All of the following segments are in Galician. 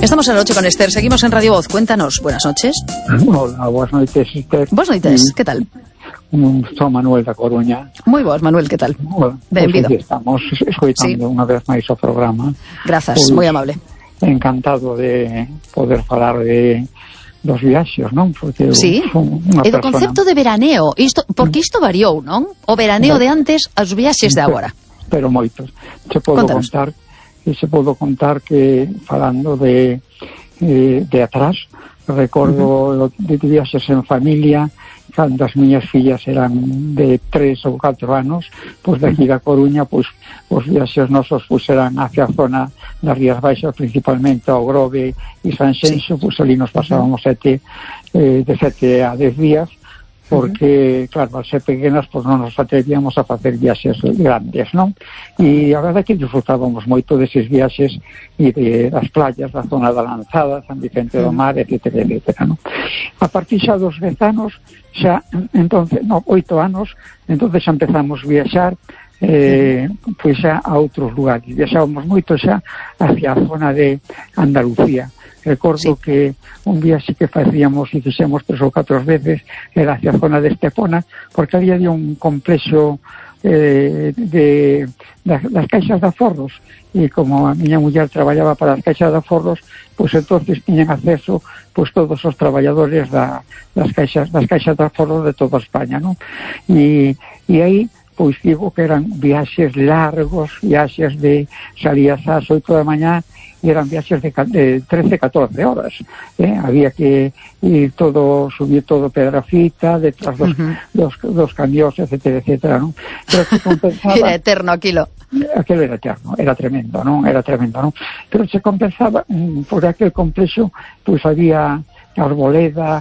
Estamos en la noche con Esther, seguimos en Radio Voz. Cuéntanos, buenas noches. Hola, buenas noites, Esther. Buenas noites, que tal? Son Manuel da Coruña. Moi boas, Manuel, que tal? Benvido. Estamos escoitando unha vez máis o programa. Grazas, moi amable. Encantado de poder falar dos viaxes, non? Porque sí, e do concepto de veraneo, porque isto variou, non? O veraneo de antes aos viaxes de agora. Pero moitos. Se podo contar que falando de atrás, recordo de viaxes en familia, cando as miñas fillas eran de 3 ou 4 anos, pois de aquí da Coruña, pois os viaxes nosos pois eran hacia a zona das Rías Baixas, principalmente ao Grove e Sanxenxo, pois ali nos pasábamos de 7 a 10 días, porque, claro, al ser pequenas, pois non nos atrevíamos a facer viaxes grandes, non? E a verdade é que disfrutábamos moito deses viaxes e das playas da zona da Lanzada, San Vicente do Mar, etcétera, non? A partir xa dos 10 anos, entonces 8 anos, entonces xa empezamos a viaxar pois xa a outros lugares. Viaxábamos moito xa hacia a zona de Andalucía. Recordo que un viaxe que facíamos e fixemos 3 ou 4 veces era hacia a zona de Estepona, porque había un complexo das caixas de aforros, e como a miña muller traballaba para as caixas de aforros, pois entonces tiñan acceso pois todos os traballadores das caixas de aforros de toda España, non? E aí pois digo que eran viaxes largos, viaxes de salías ás 8 da mañá e eran viaxes de 13-14 horas. Había que ir subir todo Pedrafita, detrás dos camións, etcétera, non? Pero se compensaba... Era eterno aquilo. Aquilo era eterno, era tremendo, non? Pero se compensaba por aquel complexo, pois había arboleda,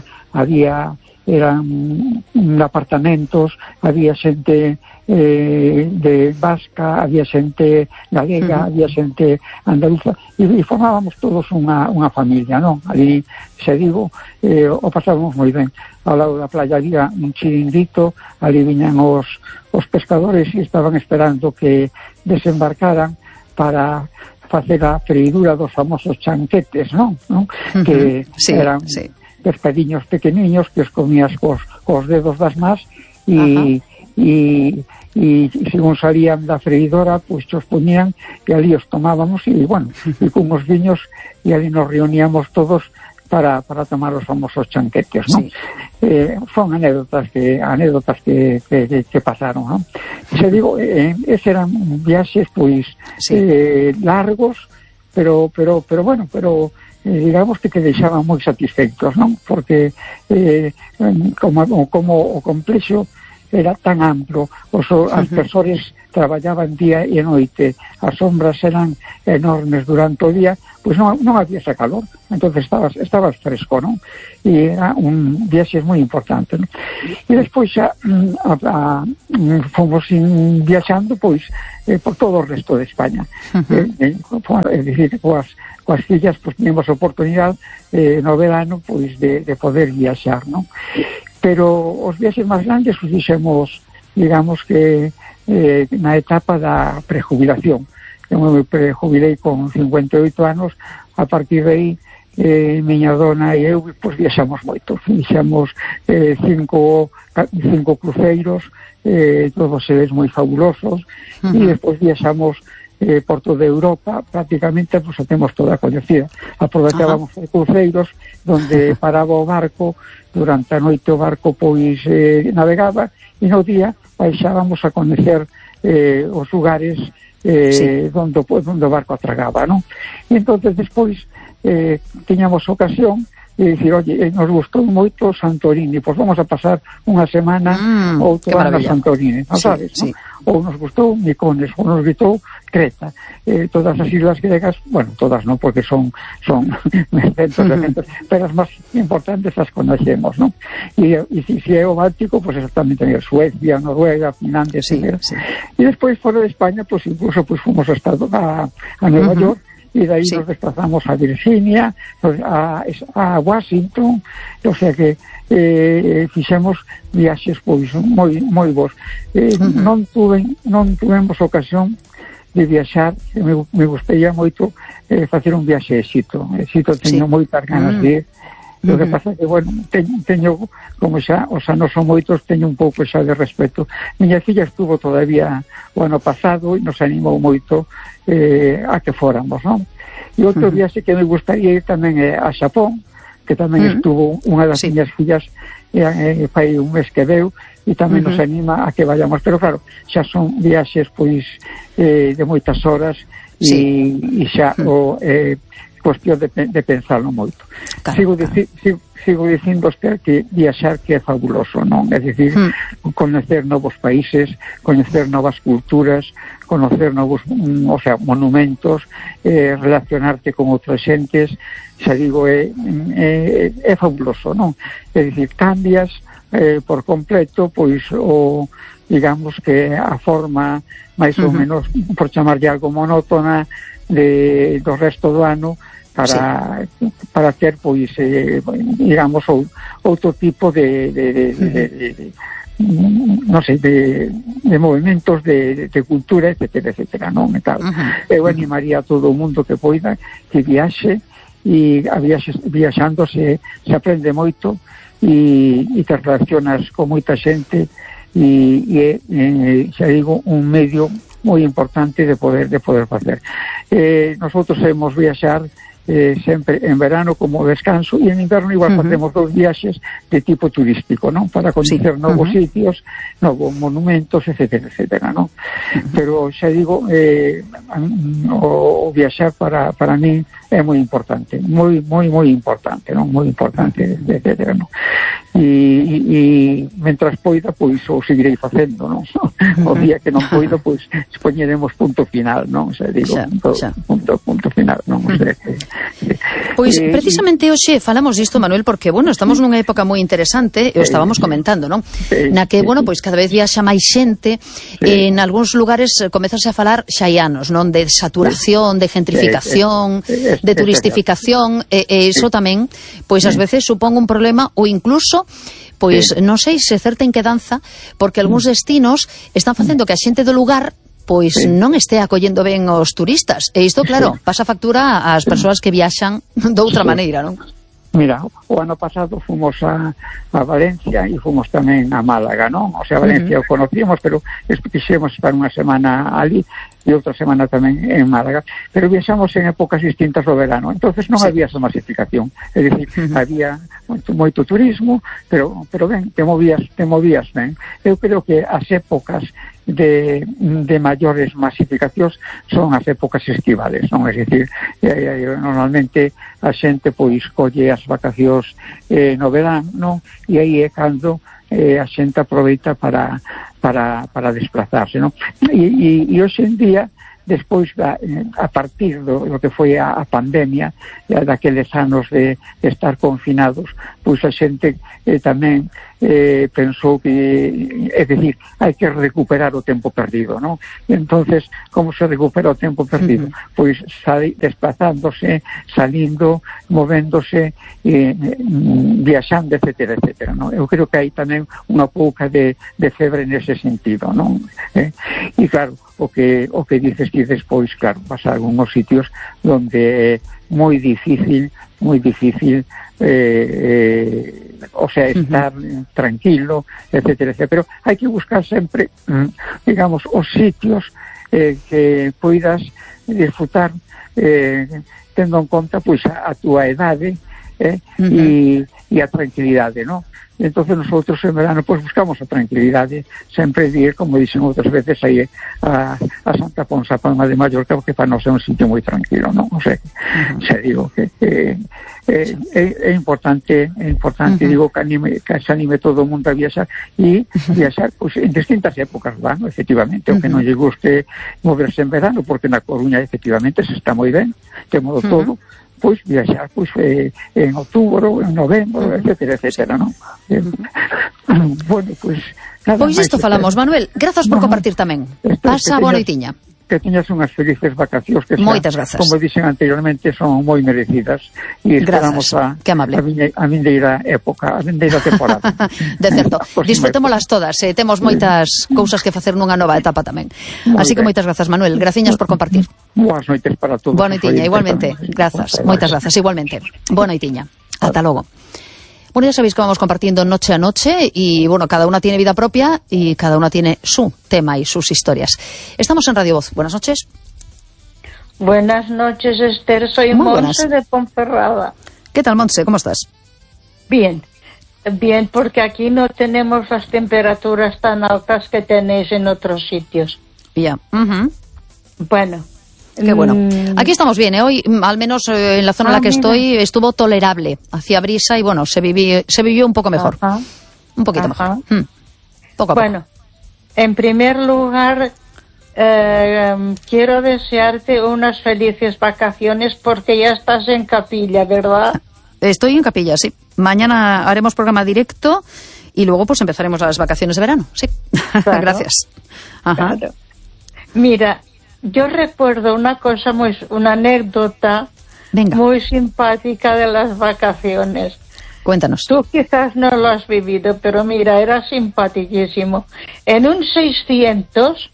eran apartamentos, había xente de vasca, había xente galega, había xente andaluza, e formábamos todos unha familia, non? Ali, se digo, o pasábamos moi ben. Ao lado da playa había un chiringuito, ali viñan os pescadores e estaban esperando que desembarcaran para facer a freidura dos famosos chanquetes, non? Que eran pescadiños pequeniños que os comías cos dedos das más e según salían da freidora, pois os poñían e ali os tomábamos e, bueno, e con os viños e ali nos reuníamos todos para tomar os famosos chanquetes, non? Son anécdotas que pasaron, non? Se digo, eses eran viaxes, pois, largos, pero bueno, digamos que deixaban moi satisfeitos, non? Porque como o complexo era tan amplo, as persoas traballaban día e noite, as sombras eran enormes durante o día, pois non había ese calor, entonces estabas fresco, non? E era un viaxe moi importante, non? E despois xa fomos viaxando, pois, por todo o resto de España. É dicir, coas fillas, pois, teníamos a oportunidade no verano, pois, de poder viaxar, non? Pero os viaxes máis grandes os fixemos, digamos que na etapa da prejubilación. Eu me prejubilei con 58 anos, a partir de aí miña dona e eu pois viaxamos moito, fixemos 5 cruceiros, todos eles moi fabulosos, e despois viaxamos por toda Europa, prácticamente pues, a temos toda coñecida. Aprovechábamos os cruceiros donde paraba o barco, durante a noite o barco pois navegaba e no día baixábamos a coñecer os lugares donde o barco atragaba, non? E entonces despois tiñamos ocasión de dicir, oye, nos gustou moito Santorini, pois vamos a pasar unha semana outra na Santorini, sabes, non? Ou nos gustou Mykonos, ou nos gustou Creta, todas as islas gregas, bueno, todas non, porque son centos, pero as máis importantes as conocemos, non? E se é o Báltico, pues exactamente Suecia, Noruega, Finlandia, e despois fora de España, pues incluso pues fomos a Nueva York, e dai nos desplazamos a Virginia, a Washington, o sea que fixemos viaxes pois moi bons. Non tuvemos ocasión viaxar, me gustaría moito facer un viaxe a Exito. Teño moitas ganas de ir. O que pasa que, bueno, teño, como xa os anos son moitos, teño un pouco xa de respeto. Miña filla estuvo todavía o ano pasado e nos animou moito a que fóramos, non? E outro viaxe que me gustaría ir tamén é a Xapón, que tamén estuvo unha das miñas fillas fai un mes que veu, e tamén nos anima a que vayamos, pero claro, xa son viaxes pois de moitas horas e xa cuestión de pensarlo moito. Sigo dicindo que viaxar que é fabuloso, non? É dicir, conocer novos países, conocer novas culturas, conocer novos, monumentos, relacionarte con outras xentes, xa digo, é fabuloso, non? É dicir, cambias por completo, pois, digamos que a forma máis ou menos, por chamarlle algo monótona, do resto do ano, para ter, pois, digamos, outro tipo de non sei, de movimentos de cultura, etcétera, non? E tal. Eu animaría a todo o mundo que poida que viaxe, e viaxando se aprende moito e te relacionas con moita xente, e xa digo, un medio moi importante de poder facer. Nosotros hemos viaxar sempre en verano como descanso, e en inverno igual facemos 2 viaxes de tipo turístico, non? Para conocer novos sitios, novos monumentos, etcétera, non? Pero xa digo, o viaxar para mí é moi importante, moi importante, non? Moi importante, etcétera, non? E mentras poida, pois o seguirei facendo, non? O día que non poido, pois poñeremos punto final, non? Xa digo, punto final, non? Pois precisamente hoxe falamos disto, Manuel, porque, bueno, estamos nunha época moi interesante, e o estábamos comentando, non? Na que, bueno, pois cada vez viaxa máis xente, en algúns lugares comezase a falar xa hai anos, non? De saturación, de gentrificación, de turistificación, e iso tamén, pois ás veces supón un problema, ou incluso, pois non sei se certa inquedanza, porque algúns destinos están facendo que a xente do lugar pois non este acollendo ben os turistas. E isto, claro, pasa factura ás persoas que viaxan doutra maneira, non? Mira, o ano pasado fomos a Valencia e fomos tamén a Málaga, non? O sea, Valencia o conocíamos, pero quixemos estar unha semana ali e outra semana tamén en Málaga, pero viaxamos en épocas distintas do verano, entonces non había esa masificación, é dicir, había moito turismo, pero ben, te movías ben. Eu creo que as épocas de maiores masificacións son as épocas estivales, non? É dicir, normalmente a xente pois colle as vacacións no verán, non? E aí é cando a xente aproveita para desplazarse, non? E hoxe en día, despois a partir do que foi a pandemia, daqueles anos de estar confinados, pois a xente tamén pensou que, é dicir, hai que recuperar o tempo perdido, non? Entonces, como se recupera o tempo perdido? Pois desplazándose, salindo, movéndose, viaxando, etcétera, non? Eu creo que hai tamén unha pouca de febre nese sentido, non? E claro, o que dices que despois, claro, vas a algúns sitios onde é moi difícil o sea, estar tranquilo, etcétera, pero hai que buscar sempre, digamos, os sitios que poidas disfrutar tendo en conta pois a túa edade e a tranquilidade, non? Entonces nosotros en verano pues buscamos a tranquilidade, sempre ir, como dicen outras veces, aí a Santa Ponsa, Palma de Mallorca, porque para nós é un sitio moi tranquilo, non? O sea, xa digo que é importante, digo, que se anime todo o mundo a viaxar, e viaxar pues, en distintas épocas do ano, efectivamente, o que non lle guste moverse en verano, porque na Coruña efectivamente se está moi ben, temos todo, pois viaxar pois en outubro, en novembro, etcétera, non? Bueno, pois nada. Pois isto falamos, Manuel. Grazas por compartir tamén. Pasa boa noitiña. que teñas unhas felices vacacións que moitas grazas. Como dixen anteriormente, son moi merecidas e esperamos a vindeira época, a vindeira temporada. De certo, disfrutémolas todas, temos moitas cousas que facer nunha nova etapa tamén. Así que moitas grazas, Manuel, graciñas por compartir. Boas noites para todos. Boa noitiña, igualmente, grazas, moitas grazas, igualmente. Boa noitiña, ata logo. Bueno, ya sabéis que vamos compartiendo noche a noche y, bueno, cada una tiene vida propia y cada una tiene su tema y sus historias. Estamos en Radio Voz. Buenas noches. Buenas noches, Esther. Soy Monse de Ponferrada. ¿Qué tal, Monse? ¿Cómo estás? Bien, porque aquí no tenemos las temperaturas tan altas que tenéis en otros sitios. Ya. Bueno. Qué bueno. Aquí estamos bien, ¿eh? Hoy, al menos en la zona en la que estoy, estuvo tolerable. Hacía brisa y, bueno, se vivió un poco mejor. Un poquito mejor. Poco a bueno, poco. En primer lugar, quiero desearte unas felices vacaciones porque ya estás en Capilla, ¿verdad? Estoy en Capilla, sí. Mañana haremos programa directo y luego pues empezaremos las vacaciones de verano, sí. Claro. Gracias. Claro. Mira, yo recuerdo una anécdota muy simpática de las vacaciones. Cuéntanos. Tú quizás no lo has vivido, pero mira, era simpaticísimo. En un 600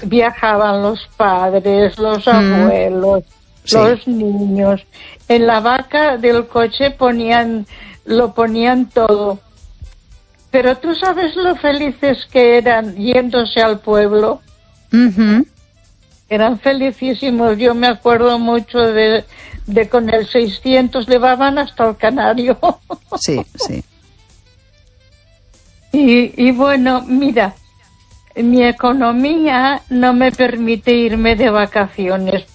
viajaban los padres, los abuelos, los niños. En la vaca del coche lo ponían todo. Pero tú sabes lo felices que eran yéndose al pueblo. Eran felicísimos. Yo me acuerdo mucho de con el 600 llevaban hasta el Canario. Sí, sí. Y bueno, mira, mi economía no me permite irme de vacaciones,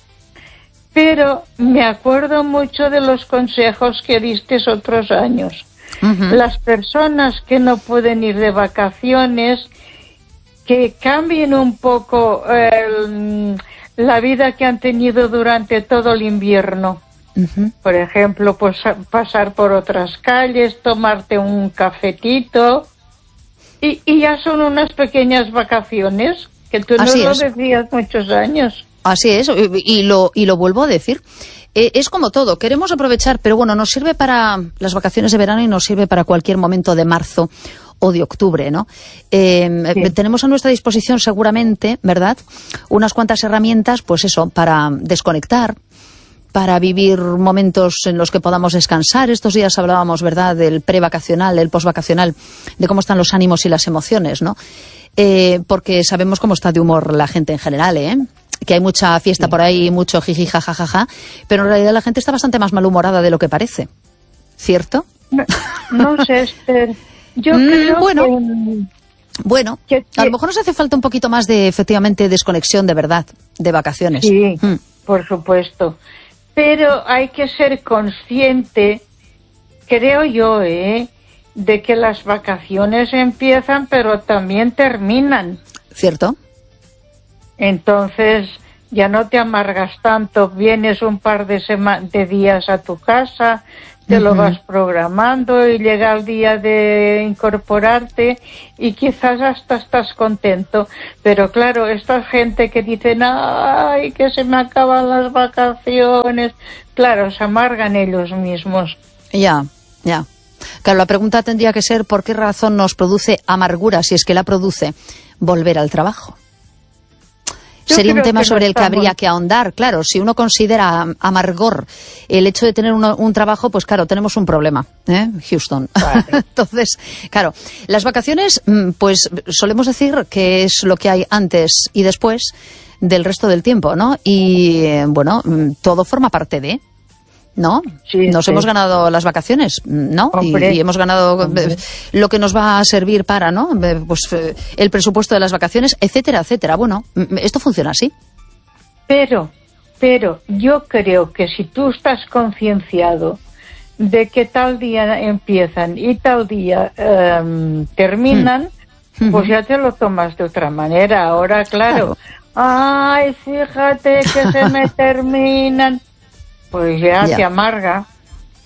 pero me acuerdo mucho de los consejos que diste otros años. Las personas que no pueden ir de vacaciones, que cambien un poco la vida que han tenido durante todo el invierno. Por ejemplo, pues pasar por otras calles, tomarte un cafetito y ya son unas pequeñas vacaciones que tú no lo decías muchos años. Así es, y lo vuelvo a decir. Es como todo, queremos aprovechar, pero bueno, nos sirve para las vacaciones de verano y nos sirve para cualquier momento de marzo o de octubre, ¿no? Tenemos a nuestra disposición seguramente, ¿verdad?, unas cuantas herramientas, pues eso, para desconectar, para vivir momentos en los que podamos descansar. Estos días hablábamos, ¿verdad?, del prevacacional, del posvacacional, de cómo están los ánimos y las emociones, ¿no? Porque sabemos cómo está de humor la gente en general, que hay mucha fiesta por ahí, mucho jiji, jajajaja, pero en realidad la gente está bastante más malhumorada de lo que parece, ¿cierto? No sé, Esther. Yo creo Bueno, a lo mejor nos hace falta un poquito más de, efectivamente, desconexión de verdad, de vacaciones. Sí, por supuesto. Pero hay que ser consciente, creo yo, de que las vacaciones empiezan, pero también terminan. ¿Cierto? Entonces, ya no te amargas tanto, vienes un par de días a tu casa, te lo vas programando y llega el día de incorporarte y quizás hasta estás contento. Pero claro, esta gente que dicen, ay, que se me acaban las vacaciones, claro, se amargan ellos mismos. Ya. Claro, la pregunta tendría que ser, ¿por qué razón nos produce amargura, si es que la produce, volver al trabajo? Sería un tema sobre el que habría que ahondar. Claro, si uno considera amargor el hecho de tener un trabajo, pues claro, tenemos un problema, Houston. Vale. Entonces, claro, las vacaciones, pues solemos decir que es lo que hay antes y después del resto del tiempo, ¿no? Y, bueno, todo forma parte de... ¿no? Sí, nos hemos ganado las vacaciones, ¿no? Y hemos ganado lo que nos va a servir para, ¿no? Pues el presupuesto de las vacaciones, etcétera, etcétera. Bueno, esto funciona así. Pero yo creo que si tú estás concienciado de que tal día empiezan y tal día terminan, pues ya te lo tomas de otra manera. Ahora, claro. Ay, fíjate que se me terminan. Pues ya te amarga.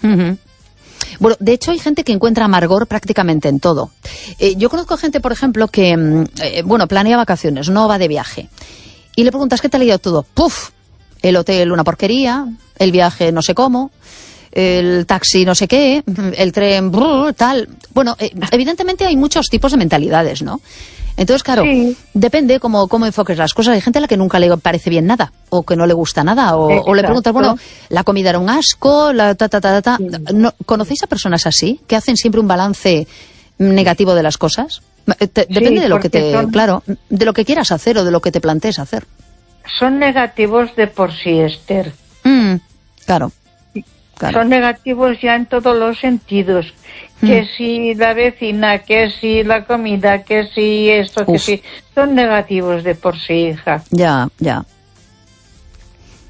Bueno, de hecho hay gente que encuentra amargor prácticamente en todo. Yo conozco gente, por ejemplo, que, planea vacaciones, no va de viaje. y le preguntas qué te ha ido todo. ¡Puf! El hotel una porquería, el viaje no sé cómo, el taxi no sé qué, el tren tal. Bueno, evidentemente hay muchos tipos de mentalidades, ¿no? Entonces, claro, depende cómo enfoques las cosas. Hay gente a la que nunca le parece bien nada, o que no le gusta nada, o le preguntas, bueno, la comida era un asco, ¿No, ¿conocéis a personas así, que hacen siempre un balance negativo de las cosas? Depende de lo que de lo que quieras hacer o de lo que te plantees hacer. Son negativos de por sí, Esther. Claro. Son negativos ya en todos los sentidos. Que si la vecina, que si la comida, que si esto, que si... Son negativos de por sí, hija. Ya.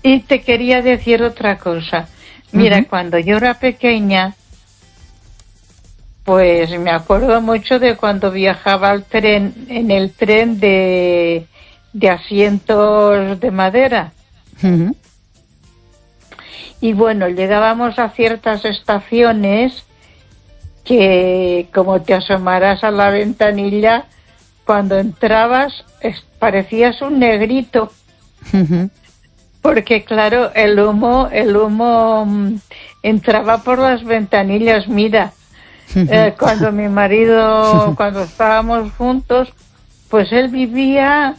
Y te quería decir otra cosa. Mira, cuando yo era pequeña, pues me acuerdo mucho de cuando viajaba en el tren de asientos de madera. Y bueno, llegábamos a ciertas estaciones que, como te asomaras a la ventanilla, cuando entrabas parecías un negrito. Porque claro, el humo entraba por las ventanillas. Mira, cuando mi marido, cuando estábamos juntos, pues él vivía...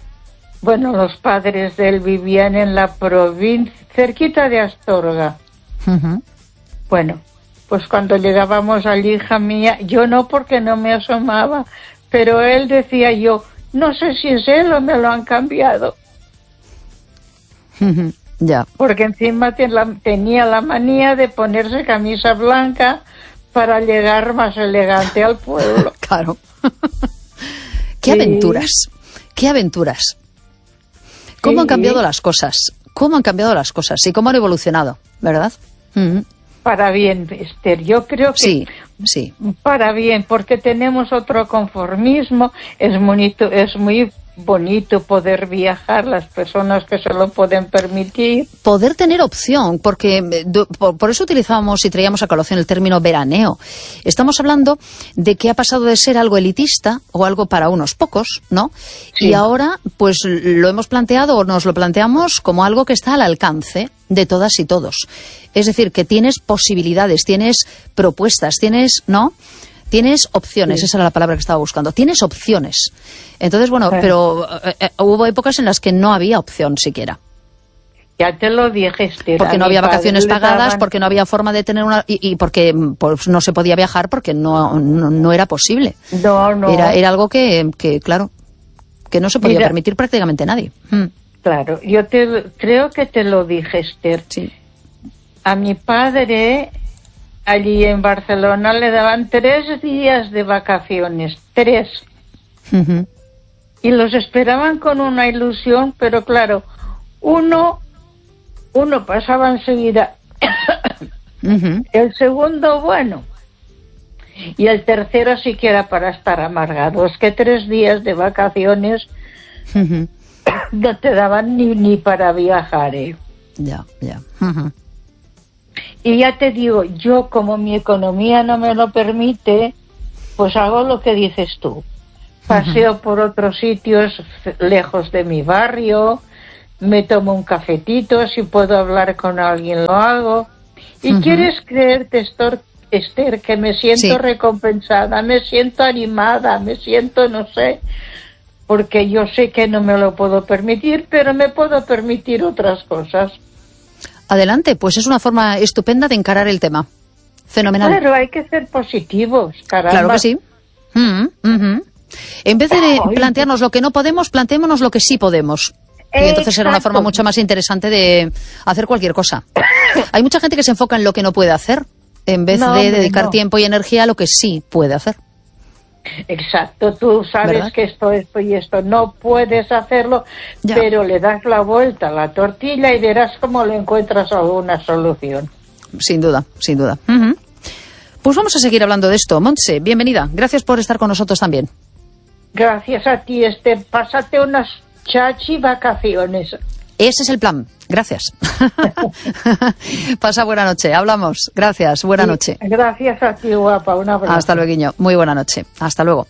Bueno, los padres de él vivían en la provincia, cerquita de Astorga. Bueno, pues cuando llegábamos allí, hija mía, yo no, porque no me asomaba, pero él decía, yo, no sé si es él o me lo han cambiado. Ya. Porque encima tenía la manía de ponerse camisa blanca para llegar más elegante al pueblo. Claro. ¡Qué aventuras! ¡Qué aventuras! ¿Cómo han cambiado las cosas? ¿Cómo han cambiado las cosas? Y cómo han evolucionado, ¿verdad? Para bien, Esther. Yo creo que sí. Para bien, porque tenemos otro conformismo. Es muy bonito poder viajar, las personas que se lo pueden permitir. Poder tener opción, porque por eso utilizábamos y traíamos a colación el término veraneo. Estamos hablando de que ha pasado de ser algo elitista o algo para unos pocos, ¿no? Sí. Y ahora, pues lo hemos planteado o nos lo planteamos como algo que está al alcance de todas y todos. Es decir, que tienes posibilidades, tienes propuestas, tienes, ¿no? Tienes opciones, esa era la palabra que estaba buscando. Tienes opciones. Entonces, bueno, pero hubo épocas en las que no había opción siquiera. Ya te lo dije, Esther. Porque no había vacaciones pagadas, porque no había forma de tener una... Y porque pues, no se podía viajar porque no era posible. No. Era algo que, claro, que no se podía permitir prácticamente nadie. Claro, yo creo que te lo dije, Esther. Sí. A mi padre... Allí en Barcelona le daban 3 días de vacaciones, 3. Y los esperaban con una ilusión, pero claro, uno pasaba enseguida, el segundo, bueno, y el tercero sí que era para estar amargado. Es que 3 días de vacaciones no te daban ni para viajar, ¿eh? Ya. Y ya te digo, yo como mi economía no me lo permite, pues hago lo que dices tú. Paseo por otros sitios lejos de mi barrio, me tomo un cafetito, si puedo hablar con alguien lo hago. Y quieres creerte, Esther, que me siento recompensada, me siento animada, me siento, no sé, porque yo sé que no me lo puedo permitir, pero me puedo permitir otras cosas. Adelante, pues es una forma estupenda de encarar el tema. Fenomenal. Claro, hay que ser positivos, caramba. Claro que sí. En vez de plantearnos lo que no podemos, planteémonos lo que sí podemos. Y entonces será una forma mucho más interesante de hacer cualquier cosa. Hay mucha gente que se enfoca en lo que no puede hacer, en vez de dedicar tiempo y energía a lo que sí puede hacer. Exacto, tú sabes, ¿verdad?, que esto y esto no puedes hacerlo, pero le das la vuelta a la tortilla y verás cómo le encuentras alguna solución. Sin duda. Pues vamos a seguir hablando de esto. Montse, bienvenida. Gracias por estar con nosotros también. Gracias a ti, Esther. Pásate unas chachi vacaciones. Ese es el plan. Gracias. Pasa buena noche. Hablamos. Gracias. Buena noche. Gracias a ti, guapa. Un abrazo. Hasta luego. Muy buena noche. Hasta luego.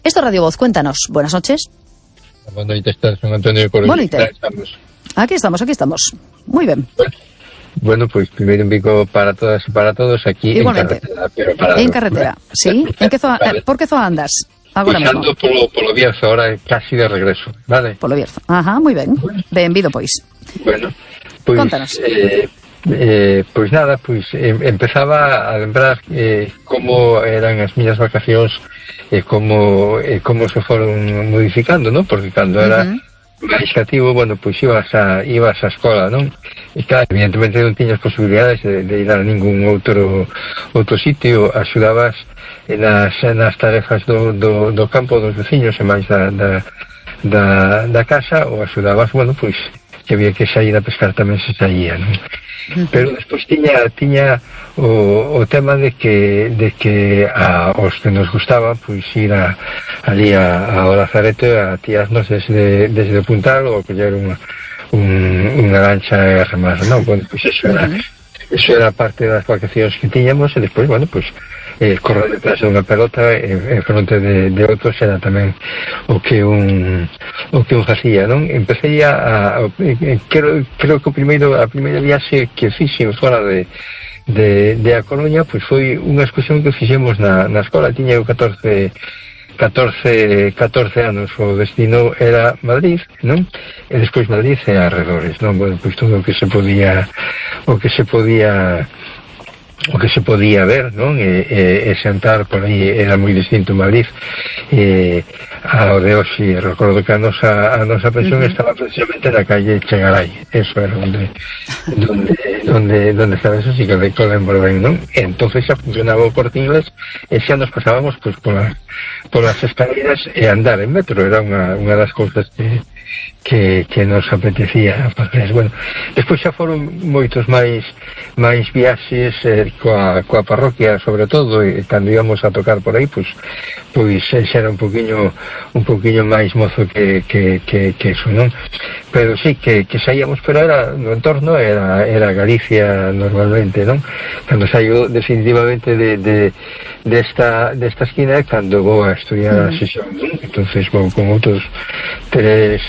Esto es Radio Voz. Cuéntanos. Buenas noches. Boa noite, San Antonio de Cordoba. Boa noite. Aquí estamos. Moi ben. Bueno, pois primeiro un bico para todas e para todos aquí. Igualmente. En carretera, sí. Por que zoa andas? Agora mesmo. Polo Bierzo, ahora casi de regreso, vale? Polo Bierzo. Ajá, moi ben. Benvido, pois. Bueno, pois... Contanos. Pois nada, pois empezaba a lembrar como eran as miñas vacacións e como se foron modificando, non? Porque cando era máis cativo, bueno, pois ibas á escola, non? E claro, evidentemente non tiñas posibilidades de ir a ningún outro sitio, axudabas nas tarefas do campo dos veciños e máis da casa, ou axudabas, bueno, pois que había que sair a pescar tamén se saía, non? Pero despois tiña o tema de que aos que nos gustaba pois ir ali ao Lazareto a tirarnos desde o Puntal ou coller unha lancha e remar, non? Bueno, pois eso era parte das vacacións que tiñamos e despois, bueno, pois correr detrás de unha pelota en fronte de outros era tamén o que un facía, non? Empecé creo que a primeira viaxe que fixen fora de A Coruña, pois foi unha excursión que fixemos na escola. Tiña eu 14 anos, o destino era Madrid, non? E despois Madrid e arredores, non? Bueno, pois todo o que se podía ver, non? E sentar por aí era moi distinto Madrid ao de hoxe. Recordo que a nosa pensión estaba precisamente na calle Chegaray. Eso era onde estaba, eso sí que lembro ben, non? E entonces xa funcionaba o Corte Inglés e xa nos pasábamos pois polas escaleras e andar en metro. Era unha das cousas que nos apetecía facer. Bueno, despois xa foron moitos máis viaxes coa parroquia, sobre todo, e cando íbamos a tocar por aí, pois xa era un poquinho máis mozo que eso, non? Pero sí, que saíamos, pero era no entorno, era Galicia normalmente, non? Cando saio definitivamente desta esquina, cando vou a estudiar a sesión, non? Entonces vou con outros tres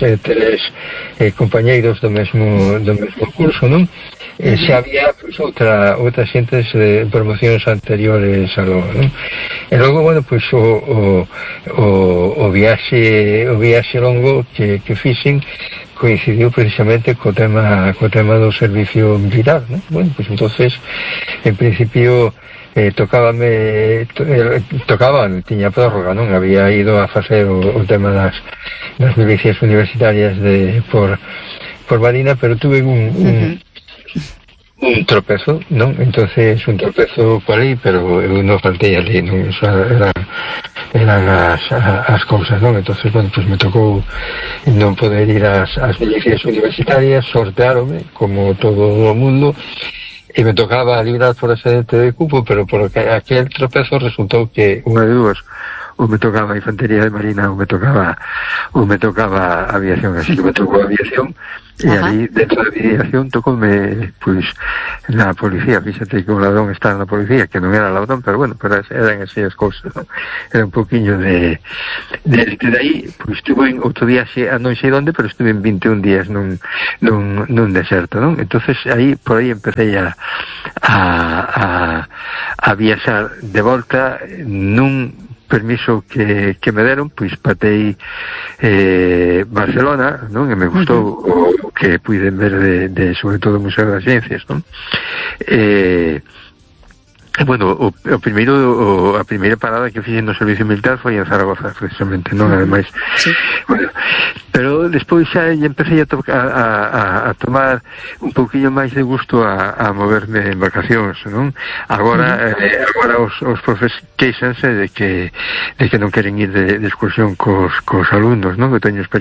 compañeiros do mesmo curso, non? Xa había pois, outra xentes de promocións anteriores a logo, non? E logo, bueno, pois o viaxe longo que fixen coincidiu precisamente co tema do servicio militar, non? Bueno, pois entonces, en principio tiña prórroga, non? Había ido a facer o tema das milicias universitarias por Marina, pero tuve un tropezo, non? Entonces un tropezo por aí, pero eu non faltei ali, non? Eso eran as cousas, non? Entonces, bueno, pues me tocou non poder ir ás milicias universitarias, sorteárome como todo o mundo, e me tocaba librar por excedente de cupo, pero por aquel tropezo resultou que unha de dúas, ou me tocaba a infantería de Marina ou me tocaba aviación, así que me tocou aviación. E ali dentro da aviación tocoume pois na policía. Fíxate que o ladrón está na policía, que non era ladrón, pero bueno, pero eran así as cousas, non? Era un poquinho de aí, pois estuve outro viaxe a non sei onde, pero estuve en 21 días nun deserto, non? Entonces aí por aí empecé a viaxar de volta nun permiso que me deron, pois patei Barcelona, non? E me gustou o que puiden ver de sobre todo o Museo das Ciencias, non? Bueno, a primeira parada que fixen no servicio militar foi en Zaragoza, precisamente, non? Ademais, sí. Bueno, pero despois xa empecé a tomar un pouquinho máis de gusto a moverme en vacacións, non? Agora os profes queixanse de que non queren ir de excursión cos alumnos, non? Que teño experiencia